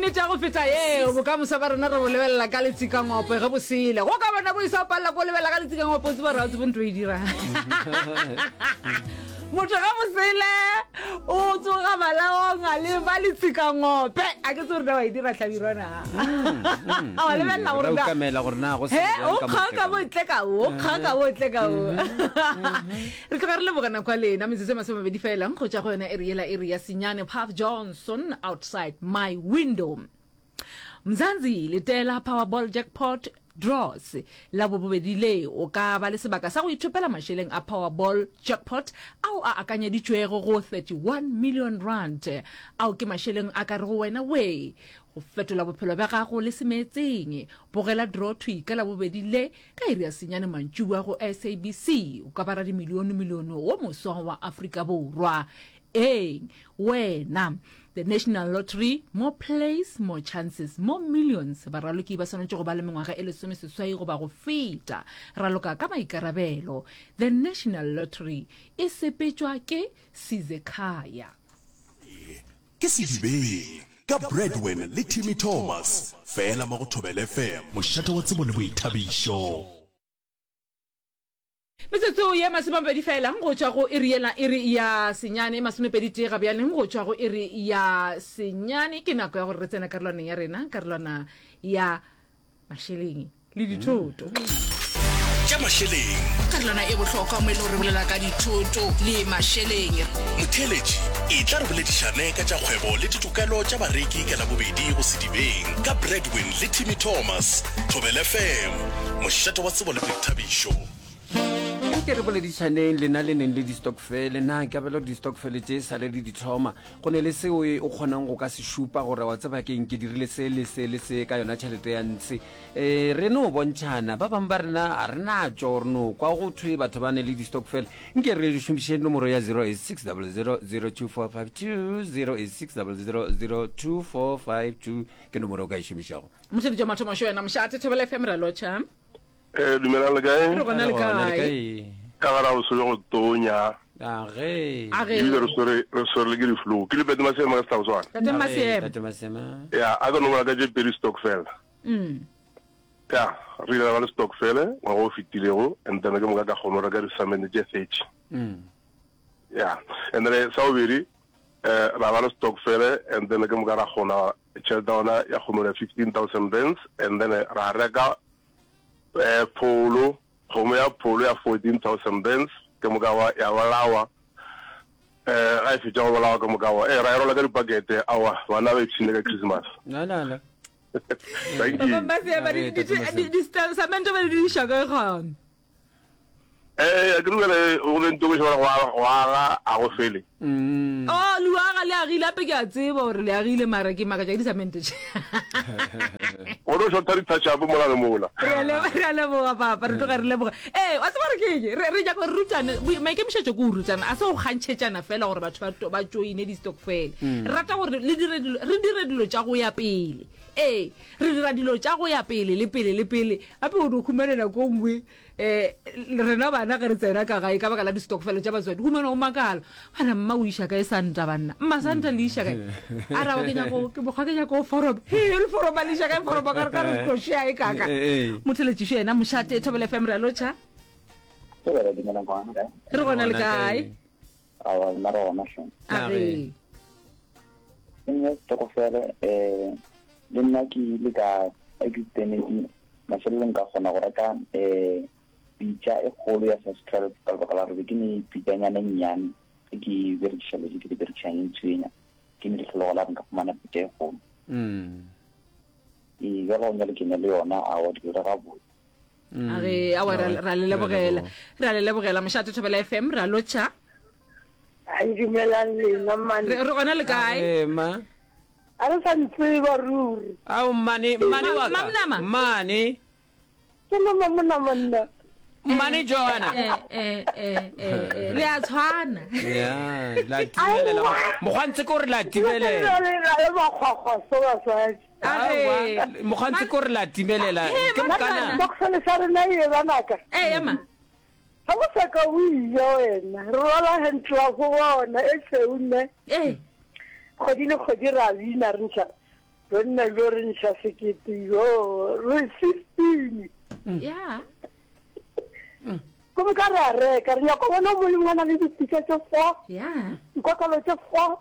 nnete ya go feta yeo bokamoso ba rena re bo lebelela ka letsikangope ge bo sele go ka bona bo isa o palela ko lebelela ka letsikangope o tseba gore ga o tsebe ntho e dirang motho ge bo sele o tsoga malaong a le ba letsikangope a ke tse gore na wa e dira hlabirwana a wa lebelela gore na ukamela gore na go se o kgaka bo tle ka o kgaka bo tle ka o Re tloga re leboga nako ya lena, metsotso e masomepedi fela go tšwa go yona iri yela, iri ya senyane. Puff Johnson, Outside My Window. Mzansi, letela Powerball Jackpot Draws la bobobedi le, o ka ba le sebaka sa go ithopela mašeleng a Powerball Jackpot ao a akanyeditšwego go 31 million rand. Ao ke mašeleng a ka rego wena wee go fetola bophelo bja gago le semeetseng. Bogela draw thwi ka Labobedi le Ka iri ya senyane mantšiboa go SABC, o ka ba radimilionemilione wo moswa wa Afrika Borwa. Eng? Wena. The National Lottery, more plays, more chances, more millions. Baraloki ba swanetše go ba le mengwaga e lesomeseswai goba go feta. Raloka ka maikarabelo. The National Lottery e sepetšwa ke Sizekhaya. Ke Sedibeng ka Bradwin le Timmy Thomas, fela mo go Thobela FM, mošate wa tsebo le boithabišo. Metsotso ye masomepedi fela go tšwa go iri yela, iri ya senyane, masomepedi tee ga bjale go tšwa go iri ya senyane. Ke nako ya gore re tsene karolwaneng ya rena, karolwana ya mašeleng le dithoto. Tša mašeleng. Karolwana e bohlokwa mo e le gore re bolela ka dithoto le mašeleng. Motheeletši, etla re boledišane ka tša kgwebo le ditokelo tša bareki ka Labobedi go Sedibeng ka Bradwin le Timmy Thomas, Thobela FM, mošate wa tsebo le boithabišo. Anke re boledišaneng lena le neng le di-stokfele. Na ke abela gore di-stokfele tše sa le le di thoma, go ne le seo o kgonang go ka se šupa gore wa tseba keng ke dirile se le se le se ka yona tšhelete ya ntshe? E, re no bontšhana. Ba bangwe ba rena ga re natšo, re no kwa go thwe batho ba ne le di-stokfele. Nke re šomiše nomoro ya 086 00 02452, 086 00 02452 ke nomoro o ka e šomišago. Mošeditšwa mathomašo wena mošate Thobela FM re a lotšha. Eh, dumelang le kae? Re gona le kae? Ka gara o swere go tonya. Age. Age. Ebile re swere re swere le ke di-flu. Ke le Pete Masema ka Setlaboswana. Tate Masema. Tate Masema. Ya, a ka no bolela ka tše pedi stokvel. Mm. Ya, re ile ra ba le stokvel ngwaga o fetilego and then ke moka ka kgona go reka disamende tše 30. Mm. Ya, and then sa bobedi eh ra ba le stokvel and then ke moka ra kgona tšhelete ya gona ya kgona go 15000 rands and then ra reka eh, pholo, kgomo ya pholo ya 14,000 rands, ke moka wa, ya bolawa. Eh, ga e fetša go bolawa ke moka wa, eh, ra e rola ka dipakete, aowa, bana ba ipshine ka Christmas. La la la. Thank you. Ba Masema, Re, Tate Masema. di-samente ba di diriša kae gona? Eh, a ke dumele go le ntokiša gore go aga- go aga a go fele. Mm. Oh, le aga le agile ape ke a tseba gore le agile mara ke makatša ke disamente tše. Go no shotha di-touch up mola le mola. Re a lebo- re a leboga papa re tloga re leboga ee wa tseba gore ke eng re re nyaka gore rutane Bo- maikemišetšo ke go rutana a se go kgantšhetšana fela gore batho ba to- ba joine di-stokfele re rata gore le dire dilo re dire dilo tša go ya pele ee re dira dilo tša go ya pele le pele le pele gape o no humane nako e nngwe um rena bana ge re tsena ka gae ka baka la di-stokfele tša batswadi humana o makala bana mma o iša kae santa banna mma santa le iša kae a raba ke nyako ke mokgwa ke nyako foroba he le foroba le iša kae foroba ka re ka re tlo šea e kaka Eh, eh. motheletšišo yena mošate thobela fm re a lotšha re gona le kae Aowa, nna re gona hle. A re. Ke nna setokofele, um le nna ke ile ka a ke tsenetše mafelelong ka kgona go reka um pitša e kgolo ya size 12 ka lebaka la gore be ke ne pitšanyana e nnyane e ke e berekiša letse ke di berekišang e ntshwenya ke ne lehlologo la gore nka fumana pitša e kgolo. Mm. Ee, bjale go nyale ke ne le yona aowa di dira gabotse. A re awa ra ra le lebogela. Re a le lebogela mošate Thobela FM re a lotšha. Ai dumelang lena mane. Re re gona le kae? Ee, ma. A re sa ntseba ruri. Ao mmane, mmane wa ka. Mamnama. Mmane. Ke nama mona monna. Mmane Joanna. Eh eh eh eh eh, le a tshwana. Ya, la timelela. Mokgwantse ke gore la timelela. Le le makgwakgwa so basadi. Aowa, mokgwantse ke gore la timelela. Ke mokana. Boxele sa rena e banaka. Eh ema. Ga go sa ka o ile wena. Re rwala hand glove bona e tšhweu ne. Eh. Kgwedi le kgwedi ra bina re ntšha. Bonna bjo re nša sekete yo re 15. Ya. Gomme ka re a reka, re nyaka bona mo lengwe na le dipitša tše fo, Ya. dikotlolo tše fo,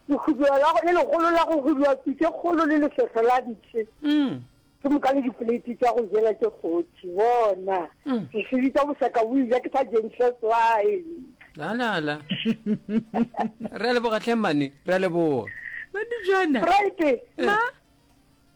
lehuduwa la le legolo la go huduwa pitše kgolo le lefehlo la ntshe. Ke moka le dipoleiti tša go jela tše 40. Bona, re seditša boseka bo ija ke sa jeng seswai. La la la. Re a leboga hle mmane, re a leboga. Madijana. Right. Ma.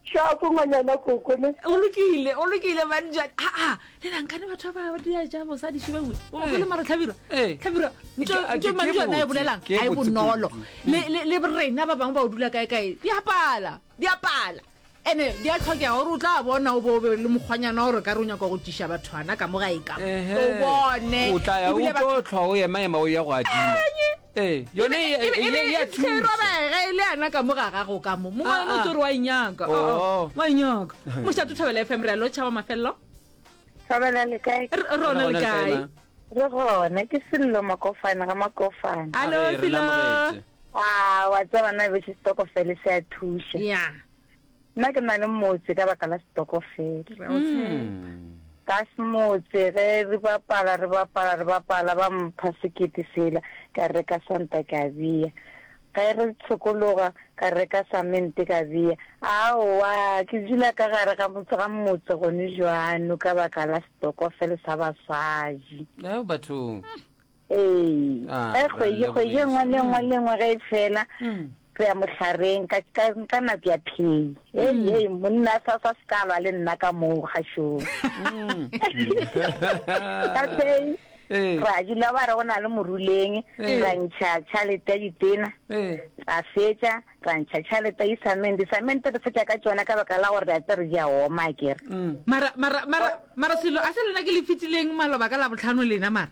Shapo ngwanyana koko ne. O lokile, o lokile Madijana. Ha ha, le na nkane batho ba ba dia ja mosadi shibe we. O go le mara tlhabirwa. Tlhabirwa. Ntho ntho Madijana e bolelang, a e bonolo. Le le le rena ba bangwe ba o dula kae kae. Di apala, di apala. Ene di a tlhokega gore o tla bona o bo o be le mokgwanyana gore ka re o nyaka go tšiša bathwana ka mo gae ka mo. O bone. O tla ya o tlo tlhwa o ema ema o ya go adima. Ee, yone e e e a thuša. Robega e le ana ka mo ga gago ka mo. Mongwe wa motse wa inyaka. Oh, wa inyaka. Mošate Thobela FM re a lotšha wa mafelelo. Thobela le kae? Re rona le kae? Re gona ke Sello Makofane ga Makofane. Hallo Sello. Ah, wa tseba nna bese stokofele se a thuša. Yeah. Nna ke na le motse ka baka la stokofele. Ka motse ge re bapala re bapala re bapala ba mpha sekete sela ka reka santa ka bea. Ge re tshokologa ka reka samente ka bea. Aowa ke dula ka gare ga motse ga motse gone jwano ka baka la stokofele sa basadi. Ao bathong. Ee. Ah, Ge kgwedi re kgwedi e nngwe le nngwe le nngwe ge e fela re ya mohlareng ka ka ka nako ya phei. Hei hei monna sa sa se ka lwa le nna ka moo kgašong. Ka phei Ee. ra dula ba re go na le moruleng ra ntšha tšhalete ya ditena Ee. ra fetša ra ntšha tšhalete ya disamente disamente re fetša ka tšona ka baka la gore re a tsere di a oma akere. Mara mara mara mara selo a se lena ke le fetileng maloba ka labohlano lena mara.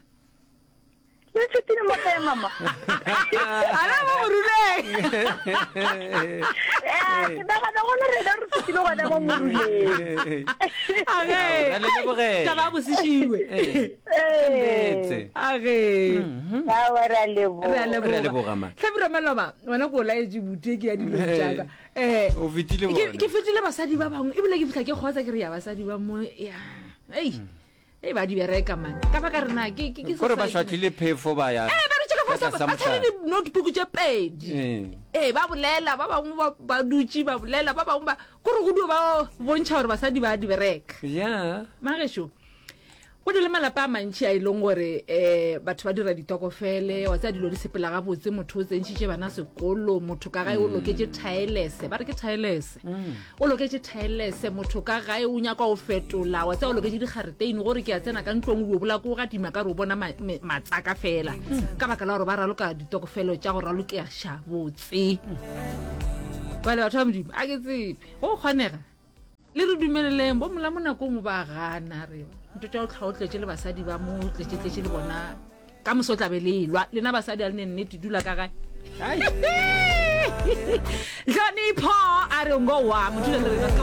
Le fetile mo kae mama? Ala mo moruleng. Eh, ke nagana gona rena re fetile gona mo moruleng. Age. Ra le lebogela. Taba ya boseshiwe. Eh. Age. Aowa, re a leboga. Re a leboga. Re a leboga, ma. Hlabirwa maloba, wena ko laetše bute ke ya dilo tšaka. Eh. O fetile Ke bona. ke fetile basadi ba bangwe ebile ke fihla ke kgotsa ke re ya basadi ba mo ya. Ei. Ei ba di bereka man. Ka baka rena ke ke ke Kore ba šwahlile phefo ba ya. Eh ba re tšeka ka fa tlasa ba tshwere mohlare. di notebook tše pedi. Ee. Eh ba bolela ba bangwe ba ba dutše ba bolela ba bangwe ba kore go dio ba bontšha gore basadi ba di bereka. Yeah. Magešo go na le malapa a mantši a e leng gore um batho ba dira ditokofele wa tsaya dilo di sepela gabotse motho o tsentšhitše bana sekolo motho ka gae o loketše thaelese ba re ke thaelese O loketše thaelese, motho ka gae o nyaka go fetola, wa tseba o loketše digareteine gore ke a tsena ka ntlong o bola ko gadima ka re o bona matsaka fela ka baka la gore ba raloka ditokofelo tša go ralokeša botse. Bale batho ba Modimo a ke tsebe go kgonega le re dumeleleng bo mola mo nakong ba gana re ntho tša go tlhwa o tletše le basadi ba mo tletšetletše le bona Ka moso tla be le elwa. Lena basadi a le ne nnete dula ka gae. Hlonipho a re ngo wa motho le rena.